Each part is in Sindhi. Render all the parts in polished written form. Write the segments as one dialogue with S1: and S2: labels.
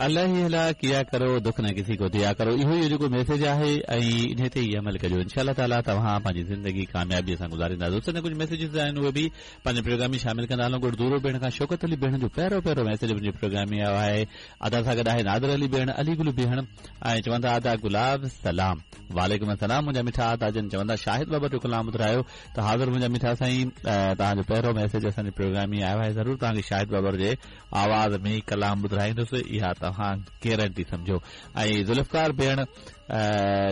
S1: الله هي الله ڪيا ڪرو دک نه ڪسي ڪو ديا ڪرو اهو ئي جيڪو ميسيج آهي ۽ انهي تي ئي عمل ڪجو انشاء الله تعالي توهان پنهنجي زندگي ڪاميابي سان گذاريندا دوستن جا ڪجهه ميسيجز آهن اهي به پنهنجي پروگرام ۾ شامل ڪندا هلون ڳوٺ دورو بيهڻ کان شوڪت علي بيهڻ جو پهريون پهريون ميسيج منهنجي پروگرام ۾ آيو آهي ادا سان گڏ آهي نادر علي بيهڻ علي گل بيهڻ ۽ چون ٿا ادا گلاب سلام وعليڪم السلام منهنجا مٺا ادا جن چون ٿا شاهد بابر جو ڪلام ٻڌرايو ته حاضر منهنجا مٺا سائين توهان جو پهريون ميسيج اسان جي پروگرام ۾ آيو آهي ضرور توهان کي شاهد بابر جي آواز ۾ ڪلام ٻڌرائيندس اها توهان گيرنٽي سمجهو ۽ ذوالفقار بيهڻ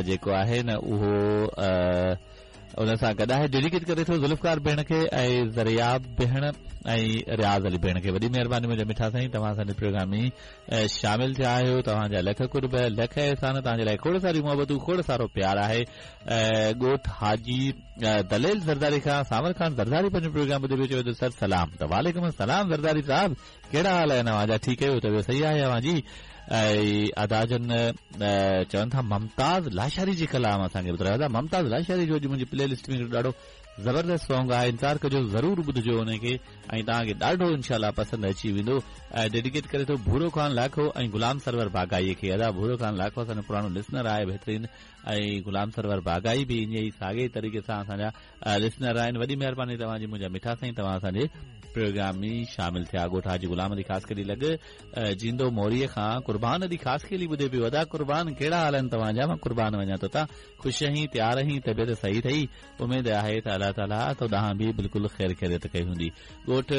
S1: جيڪو آهي نه اهو ان سان گڏ آهي ڊيڊيڪيٽ ڪري ٿو ذوالفقار بيهڻ کي ۽ زرياب بيهڻ ۽ رياض علي بيهڻ کي وڏي مهرباني منهنجا مٺا سائين توهان اسان جي پروگرام ۾ شامل ٿيا آهيو توهان جا لک قرب لک احسان توهان جي لاء کوڙ ساريون محبتون کوڙ سارو پيار آهي ڳوٺ حاجي دليل زرداري کان سانول خان زرداري پنهنجو پروگرام ٻڌي پيو چوي ٿو سر سلام ته وعليڪم السلام زرداري صاحب ڪهڙا حال آهن اوهان جا ٺيڪ آهيو طبيعت صحيح آهي اوهان جي ۽ ادا جن چون ٿا ممتاز لاشاري جي ڪلام اسان کي ٻڌرايو ادا ممتاز لاشاري جو اڄ منهنجي پلي لسٽ ۾ ڏاڍو زبردست سونگ آهي انتظار ڪجو ضرور ٻڌجو ان کي ۽ توهان کي ڏاڍو انشاء الله پسند اچي ويندو ۽ ڊيڊيڪيٽ ڪري ٿو ڀورو خان لاکو ۽ غلام سرور باغائي کي ادا ڀورو خان لاکو اسان جو پراڻو لسنر آهي بهترين ۽ غلام سرور باغائي به ائين ئي ساڳئي طريقي سان اسان جا لسنر آهن وڏي مهرباني توهان جي منهنجا مٺا سائين توهان اسان جي پروگرام ۾ شامل ٿيا ڳوٺ حاجي غلام علي خاصخيلي لڳ جيندو موري کان قربان علي خاصخيلي ٻڌي پيو ادا قربان ڪهڙا حال آهن توهان جا مان قربان وڃان تو تان خوش آهين تيار آهين طبيعت صحيح اٿئي اميد آهي ته الله تعالي تو ڏانهن به بلڪل خير خيريت ڪئي هوندي ڳوٺ.